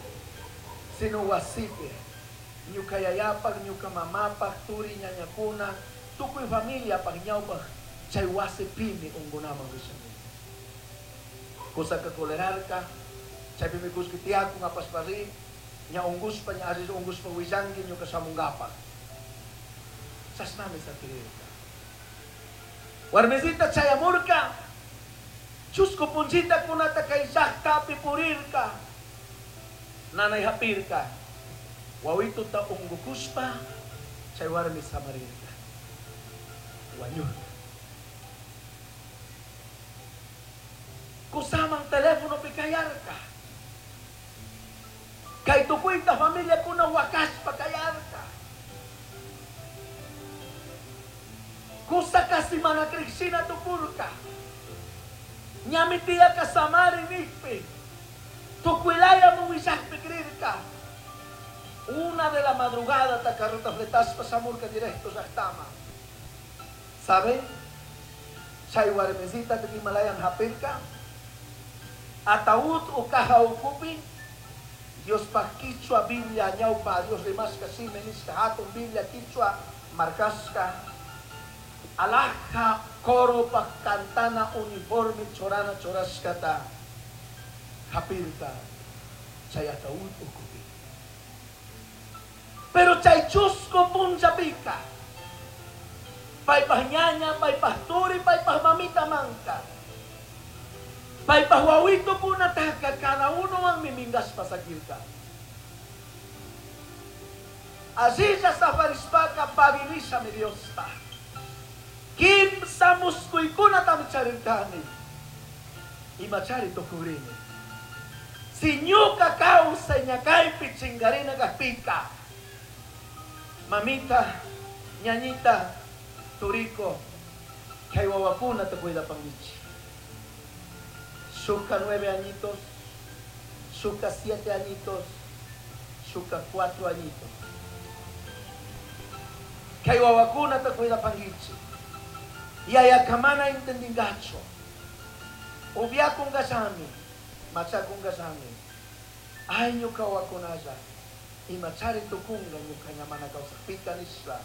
sino wasipi, ñuka yayapaj, ñuka mamapaj, turi ñañakuna, tukuy familiapaj ñawpaj chay wasipimi ungunaman rishanini. Kusaka colerarka, chaypimi kullki tiyakun apashpa ri, ña ungushpa, ña alli ungushpa willanki ñuka shamunkapaj. Chashnami sakirirka. Warmisita chayamurka, chusku punllitakunata kay llaktapi purirka, nanay hapirka, wawituta ungukushpa chay warmi samarirka, wañurka. Kusaman telefonopi kayarka. Kay tukuyta familiakuna wakashpa kayarka. Kusa kasi mana krikshina tukurka. Ñami tiyaka samari nikpi. Tukuylaya willakpi krirka. 1 de la madrugada ta carrota fletashpa shamurka directo llaqtama. ¿Sabe? Chay warmisita Himalayan hapirka. Ataúd o caja ukupi. Dios pa quichua Biblia ñawpa Dios rimashka shimi nishka hatun Biblia quichua markashka. Alhaja coro pa cantana uniforme chorana chorashkata hapirka chay ataúd ukupi. Pero chay chusco punllapika paypaj ñaña, paypaj turi, paypaj mamita manka, paypaj wawito kunataka, cada uno manmi mingashpa sakirka. Allilla safarishpaka pagirisha mi Diosta. Kimsa muskuykunatami charirkani. Imachari tukugrini. Si ñuka kawsay ñakaypi chinkarina kajpika, mamita, ñañita, turiko, kay wawakunata cuidapankichik. Shuka 9 añitos, shuka 7 añitos, shuka 4 añitos. Kay wawakunata cuidapankichik. Yayakamana entendingacho. Ubiakungashami, machakungashami. Ay ñuka wawakunalla, imachari tukunga ñuka ñamana kawsakpika nishpa.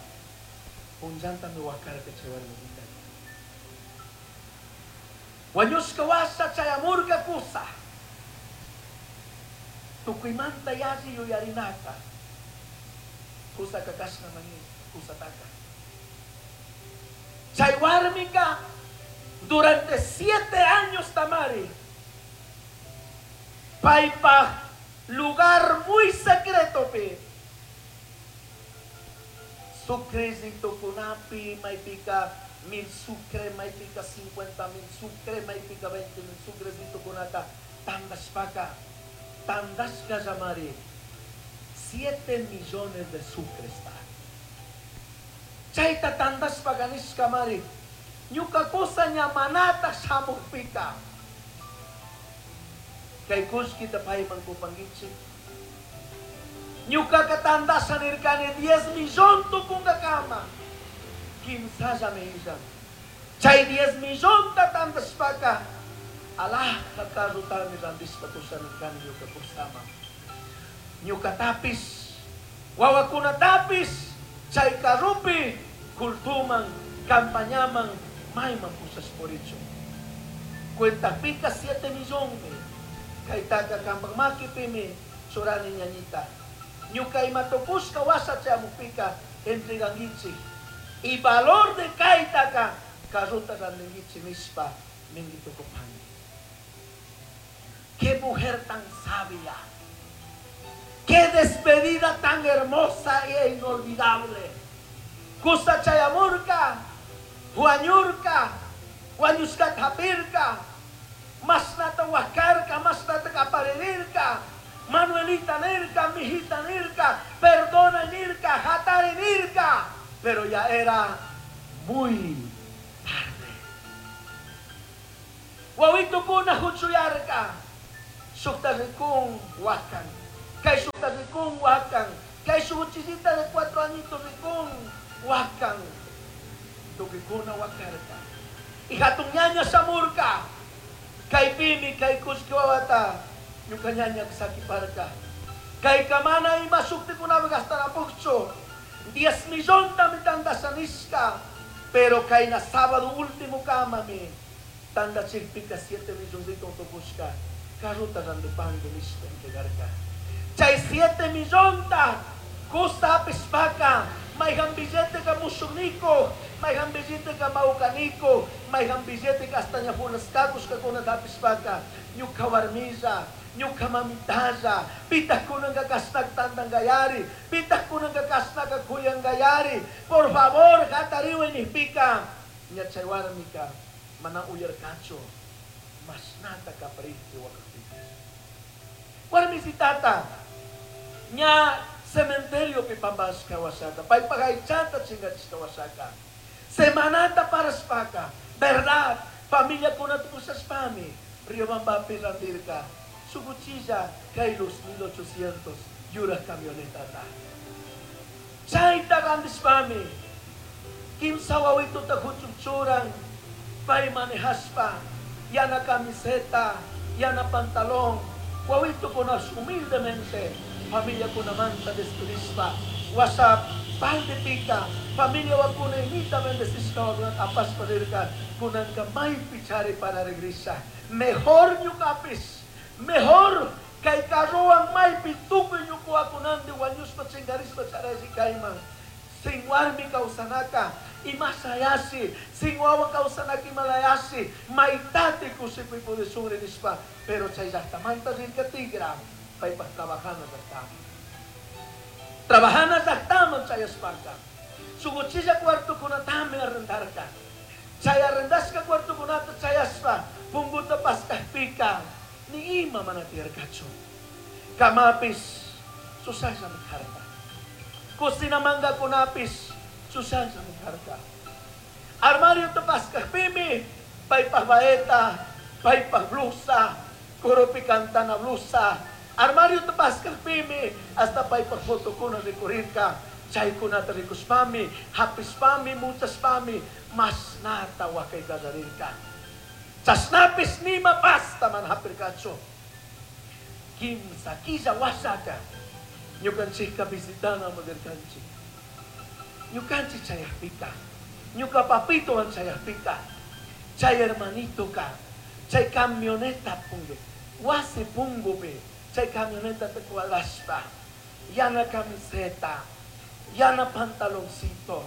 Punllantami wakarka chay warmita. Wañushka washa chayamurka kusa. Tukuymanta yalli yuyarinaka. Kusaka kashna mani kusataka. Chay warmika durante 7 años tamari. Paypaj lugar muy secreto pe. Sucrecito kunapi maypika 1000 sucre, maypika 50,000 sucre, maypika 20,000 sucrecito kunata tandashpaka, tandashka llamari 7 millones de sucres ta. Chayta tandashpaka nishka mari, ñuka kusa ñamanata shamukpika. Kay kullkita payman kupankichik. Ñukaka tandasha nirkani 10 millón tukunkakama. Kimsalla millan. Chay 10 millón ta tandashpaka, alhaja carrotami randishpa kusha nirkani ñuka kusama. Ñuka tapis, wawakuna tapis, chay carrupi, kultuman, campañaman, mayman pushashpurichu. Cuenta pica 7 millones. Kaytaka kampak makipimi, churani ñañita. Ñuka imatopushka washa chamupika entreganguichi. Y valor de kaitaka carruta randinguichi nishpa mingitukupani. Qué mujer tan sabia. Qué despedida tan hermosa e inolvidable. Kusa chayamurka, huañurka, huañushka tapirka, masnata huascarka, masnata caparerirka, Manuelita nirka, mijita nirka, perdona nirka, hatari nirka, pero ya era muy tarde. Wawitukuna huchuyarka, shukta rikun wakan, kay shukta rikun wakan, kay shukuchisita de 4 añitos rikun wakan, tukikuna wakarka. Y hatun ñaña shamurka, kay pimi, kay kushki wawata, ñuka ñaña sakiparka. Kay kamana ima shuktikunami gastarapukchu, 10 millón tami tandasanishka, pero kay na sábado último kamami, tandachikpika 7 milloncito tukushka, carruta randipangui nishpa entregarka. Chay 7 millonta, kusta apispaka, mayhan billete ka mushukniko, mayhan billete ka maukaniko, mayhan billete ka hasta ñapunaskakushka kunata apispaka, ñuka warmilla, ñuka mamitalla, pitah kunanka kasnak tantangayari, pitah kunanka kasnaka kuyangayari, por favor, hatariwe nihpika, ña chay warmika, mana uyarkachu, masnata kaparihti wakakpipis. Warmisitata, ña cementerio pipambashka wasaka, paypagaychata chingachishka wasaka, semanata paraspaka, verdad, familia kunata pushashpami, Riobambapi randirka, su cuchilla kay los 1800 yura camioneta ta. Chayta randishpami, kimsa wawituta huchunchuran, pay manejashpa, yana camiseta, yana pantalón, wawito kunas humildemente, familia kunamanta despedishpa, WhatsApp, pal de pica, familia wakuna imita bendecishka wakuna apaspa dirka, kunanka may pichari para regresa. Mejor ñukapis, mejor kay carrowan maypi tukuy ñuku wakunandi wañushpa chinkarishpa charaysi kayman. Sin warmi kawsanaka, imasayasi, sin wawa kawsanaka imalayasi, maytati kusikuy pudishunri nishpa, pero chay llaqtamanta rirka tigra, paypaq trabajana llaqtaman. Trabajana llaqtaman chayashpaka, sukuchilla cuartokunatami arrendarka. Chay arrendashka cuartokunata chayashpa, punguta paskajpika, ni ima mana tiyarkachu. Kamapis, susayllami karka. Kusina mangakunapis, susayllami karka. Armario tapaskajpimi, paypaj baeta, paypaj blusa, kurupi kantana blusa. Armario tapaskajpimi, hasta paypaj fotokuna rikurirka. Chaykunata rikushpami, hapishpami, muchashpami, masnata wakay kallarirka. Chashnapis nima pasta man hapirkachu. Kimsa killa wasaka, ñukanchikka visitana mudirkanchik. Ñukanchik chayajpika, ñuka papitowan chayajpika, chay hermanitoka, chay camioneta pungu, wasi pungupi, chay camioneta te cuadrashpa, yana camiseta, yana pantaloncito,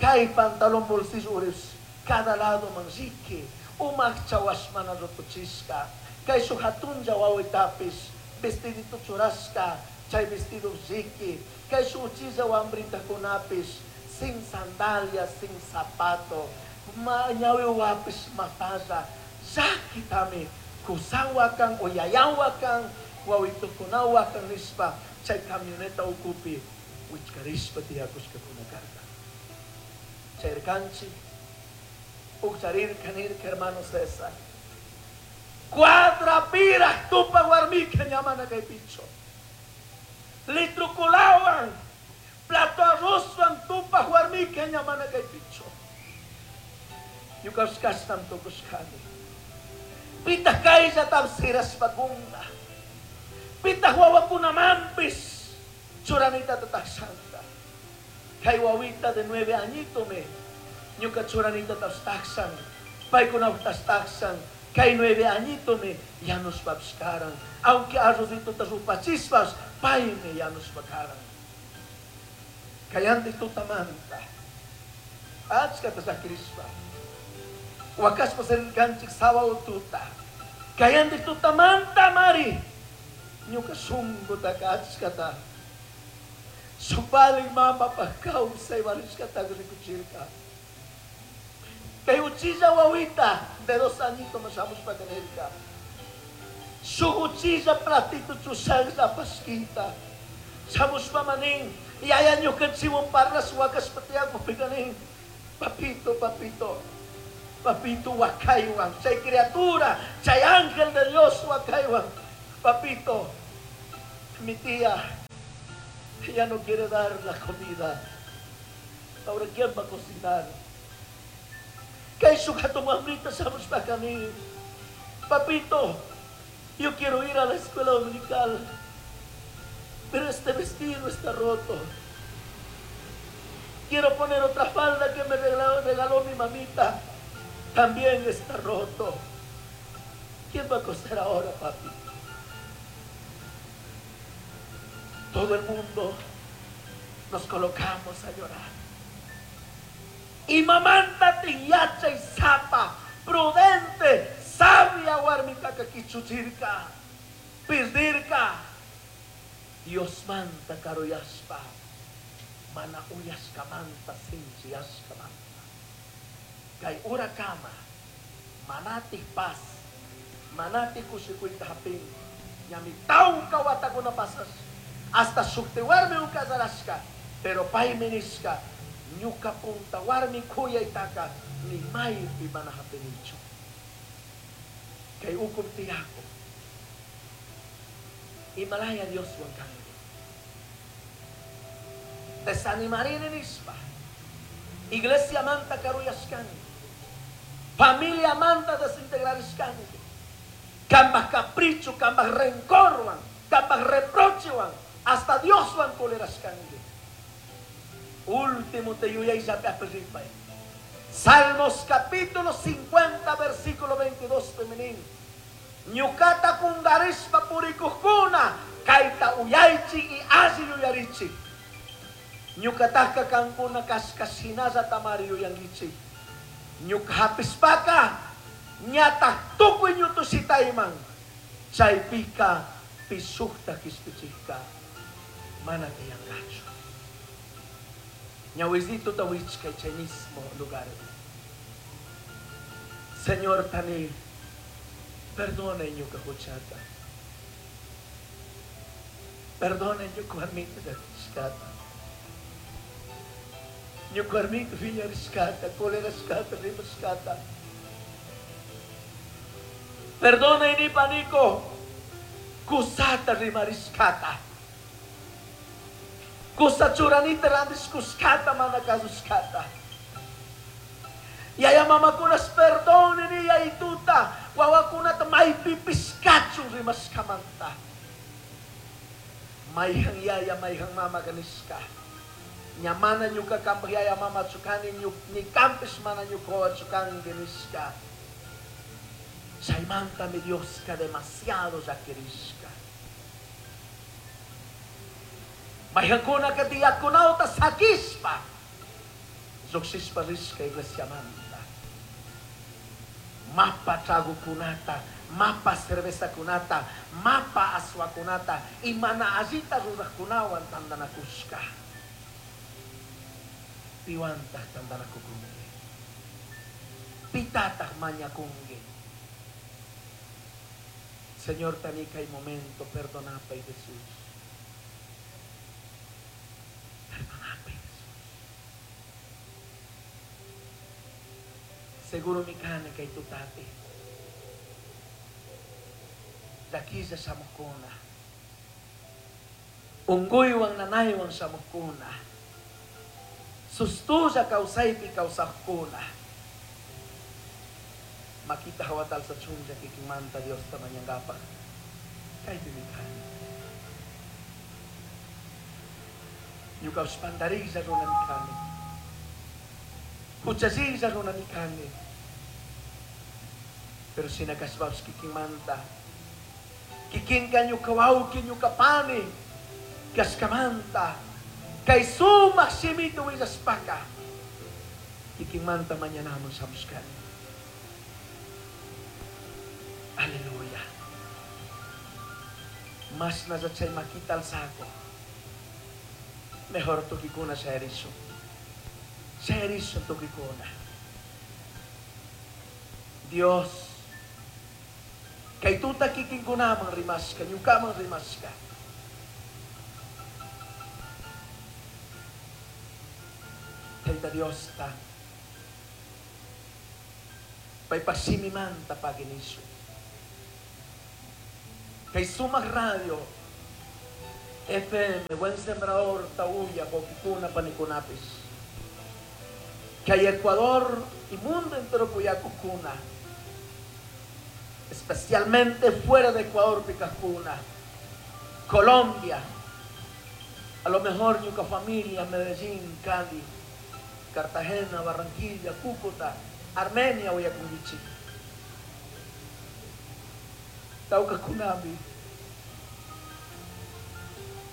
kay pantalón bolsillo uris, cada lado manrique, umakcha washmana rotuchishka, kay su hatunja wawitapis, vestidito churashka, chay vestido riqui, kay su uchilla wambrita kunapis, sin sandalias, sin zapato, ñawi wapis mapalla, llakitami, kusawakan o yayawakan, wawitukunawakan nishpa, chay camioneta ukupi, wichkarishpa tiyakushka kunakarka. Chayrkanchik, ukcharirka nirka hermano César. Cuadra piraj tupa warmika ñamana kay picho. Litrukulawan, plato arrozwan tupa warmika ñamana kay picho. Ñukash kastam tukushkani. Pitah kaylla tapsirashpa kunga. Pitah wawakunamanpis churanita tatakshanta. Kay wawita de 9 añito me ñuka churanita tapstaksan. Paykuna tastaksan. Kay 9 añito me ya nos papskaran. Aunque arrozito tarupachispas, pay me ya nos pakaran. Kayante tutamanta. Achka tasakrispa. Wakaspa senkanchik sábado tuta. Kayante tutamanta mari. Ñuka sungo takachkata. Supalik mama pa kawsay walishkata rikuchirka. Kay uchilla wawita de 2 añitos masamos pa kanirka. Shuguchilla platito chushaglla pasquita. Shamushpa manin. Yaya ñukanchiwan parlas wakashpa tiyakupika nin. Papito, papito. Papito wakaywan. Chay criatura, chay ángel de Dios wakaywan. Papito, mi tía ya no quiere dar la comida. Ahora, ¿quién va a cocinar? Kay hatun wambrita shamushpa nin. Papito, yo quiero ir a la escuela dominical, pero este vestido está roto. Quiero poner otra falda que me regaló mi mamita. También está roto. ¿Quién va a coser ahora, papi? Todo el mundo nos colocamos a llorar. Y mamanta tiyacha y zapa, prudente, sabia warmitaka kichuchirka, pirdirka. Dios manta karuyashpa, mana uyashkamanta sinchiyashkamanta. Kay urakama, manati paz, manati kushikuyta hapin, ñami tawka watakuna pasas, hasta shukti warmi ukasarashka, pero paymi nishka, ñuka punta warmi kuyaytaka, ni maypi mana hapinichu. Kay ukup tiyako, Himalaya Dios kanki. Desanimarini nishpa. Iglesia manta karuyashkanki. Familia manta desintegrarishkanki. Kambaj capricho, kambaj rencorwan, kambaj reprochewan, hasta Dioswan colerashkanki. Último te yuyayllapi apirripay. Salmos capítulo 50, versículo 22, feminin. Ñukata kungarishpa purikujkuna, kayta uyaychi y alli yuyarichi. Ñukataka kankuna kashka tamari yuyankichi. Ñuka hapispaka, ñata tukuy ñutushitayman. Chaypika pisukta kishpichikka, mana tiyankachu. Ñawisito tawichka chay mismo lugar. Señor tani, perdona ñuka huchata. Perdona ñuka warmita llakishkata. Ñuka warmita phiñarishkata, colerashkata, rimashkata. Perdona inipaniko, kusata rimarishkata. Kusa churanita randishkushkata mana kasushkata. Yaya mamakunas perdone yayituta, wawakunata maypipishkachu rimashkamanta. Mayhan yaya, mayhan mama kanishka. Ñamana ñuka kampaj yaya mama chukani, ni kampis mana ñuka chukanki nishka. Chaymanta mi Dioska demasiado llakirishka. Mayhankuna ka tiyakunawta sakishpa, lluqshishpa rishka iglesiamanta. Mapa tragokunata, mapa cervezakunata, mapa aswakunata, y mana allita rurajkunawan tandanakushka. Piwantaq tandanakukunki. Pitataq mañakunki. Señor, tanika y momento, perdonapay Jesús. Perdonapay Jesús. Seguro mi kane kay tutapi. Llakilla shamuqkuna. Unquywan nanaywan shamuqkuna. Sustulla kawsaypi kawsaqkuna. Makita hawatal sa chunlla kikimanta Diosta mañangapaq. Kaypi mi kani. Ñukapish pantariylla runami kani. Huchalliylla runami kani. Pero shinakashpapish kikimanta. Kikinka ñuka wawqi ñuka pani. Kashkamanta. Kay sumaq shimita willashpaka. Kikimanta mañanaman shamushkani. Aleluya. Mashnalla chay makita alzako. Mejor tukikuna shayarishun. Shayarishun tukikuna. Dios, Kay tuta kikinkunaman rimashka, ñukaman rimashka. Tayta Diosta paypak shimimanta pagui nishun. Kay sumak radio FM Buen Sembrador Tauya wawkikuna panikunapish. Kay Ecuador y mundo entero kuyakukuna, especialmente fuera de Ecuador pikajkuna, Colombia, a lo mejor ñuka familia, Medellín, Cali, Cartagena, Barranquilla, Cúcuta, Armenia uyakunkichik. Tawkakunami.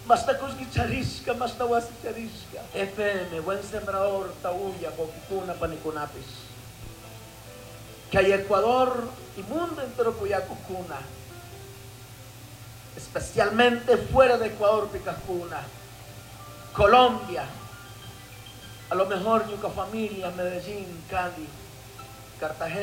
Mashta kullki charishka, mashta wasi charishka. FM, Buen Sembrador, Tauya, wawkikuna, panikunapish. Kay Ecuador y mundo entero kuyakukuna, especialmente fuera de Ecuador pikajkuna, Colombia, a lo mejor ñuka familia, Medellín, Cali, Cartagena.